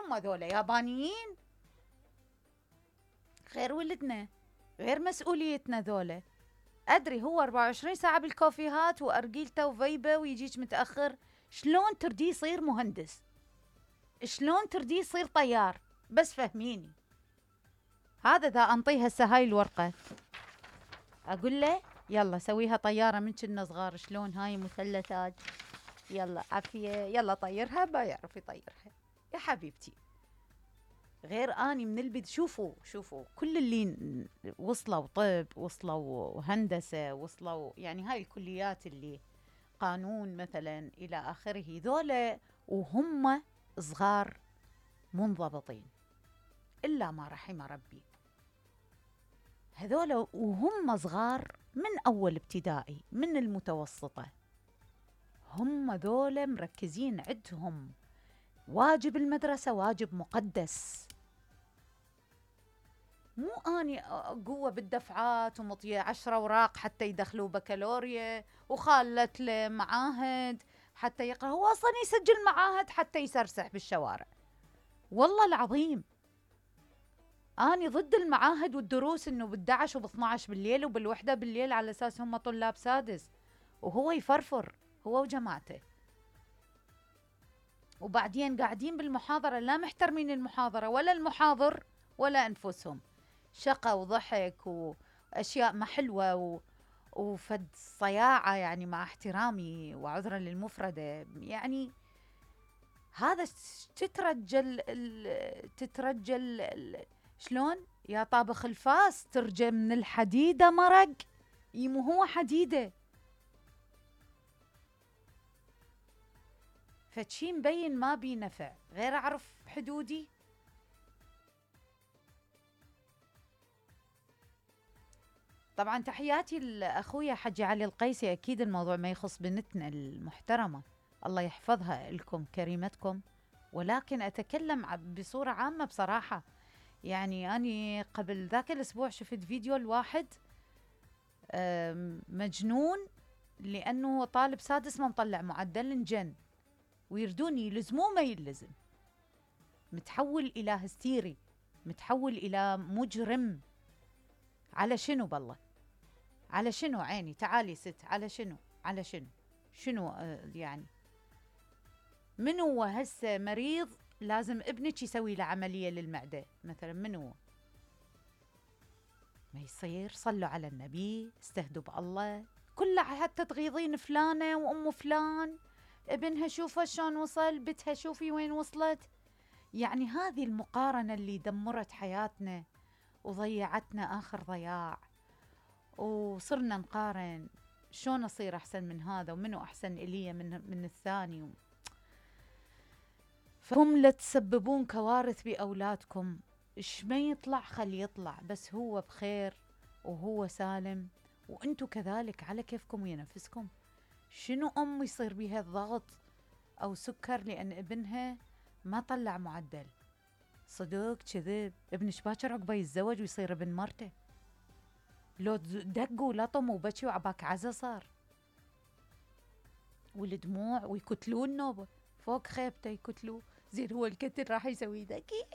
هم ذولا يابانيين، غير ولدنا، غير مسؤوليتنا ذولا. أدري هو 24 ساعة بالكوفيهات وأرجيلته وفيبة ويجيك متأخر. شلون ترديه يصير مهندس؟ شلون ترديه يصير طيار؟ بس فهميني. هذا ذا أنطيه هسه هاي الورقة أقول له يلا سويها طيارة من كنا صغار، شلون هاي مثلثات، يلا عافية يلا طيرها، ما يعرف يطيرها يا حبيبتي. غير أني من البدء. شوفوا كل اللي وصلوا طب، وصلوا هندسة، وصلوا يعني هاي الكليات اللي قانون مثلا إلى آخره، ذولا وهم صغار منضبطين إلا ما رحم ربي. هذولا وهم صغار من أول ابتدائي، من المتوسطة، هم ذولا مركزين، عندهم واجب المدرسة واجب مقدس. مو أني قوة بالدفعات ومطية 10 أوراق حتى يدخلوا بكالوريا، وخالت له معاهد حتى يقرأ. هو أصلا يسجل معاهد حتى يسرسح بالشوارع. والله العظيم أنا ضد المعاهد والدروس إنه بال11 وب12 بالليل وبال1 بالليل على أساس هم طلاب سادس، وهو يفرفر هو وجماعته. وبعدين قاعدين بالمحاضرة لا محترمين المحاضرة ولا المحاضر ولا أنفسهم، شقة وضحك وأشياء ما حلوة وفد صياعة، يعني مع احترامي وعذرا للمفردة. يعني هذا تترجل شلون يا طابخ الفاس ترجى من الحديدة مرق، يمو هو حديدة. فشي مبين ما بي نفع، غير أعرف حدودي. طبعا تحياتي لأخويا حجي علي القيسي، أكيد الموضوع ما يخص بنتنا المحترمة، الله يحفظها لكم كريمتكم، ولكن أتكلم بصورة عامة بصراحة. يعني أنا قبل ذاك الأسبوع شفت فيديو الواحد مجنون لأنه طالب سادس ما مطلع معدل انجن، ويردون يلزموه ما يلزم، متحول إلى هستيري، متحول إلى مجرم. على شنو بالله؟ على شنو عيني؟ تعالي ست، على شنو؟ على شنو يعني؟ من هو هسه مريض لازم ابنك يسوي له عملية للمعدة مثلا؟ من هو؟ ما يصير. صلوا على النبي، استهدوا بالله. كلها حتى تغيظين فلانة وأم فلان، ابنها شوفها شلون وصل، بتها شوفي وين وصلت. يعني هذه المقارنة اللي دمرت حياتنا وضيعتنا آخر ضياع، وصرنا نقارن شلون أصير أحسن من هذا، ومنو أحسن إلي من الثاني. فهم لا تسببون كوارث بأولادكم. إيش ما يطلع خلي يطلع، بس هو بخير وهو سالم، وأنتوا كذلك على كيفكم ويا نفسكم. شنو أم يصير بيها الضغط أو سكر لأن ابنها ما طلع معدل؟ صدق كذب، ابنش باكر عقبه يتزوج ويصير ابن مرته، لو دقوا لطموا وبكي وعباك عزا صار، والدموع ويكتلوه النوبة فوق خيبته يكتلوه. زين هو الكتل راح يسوي ذكي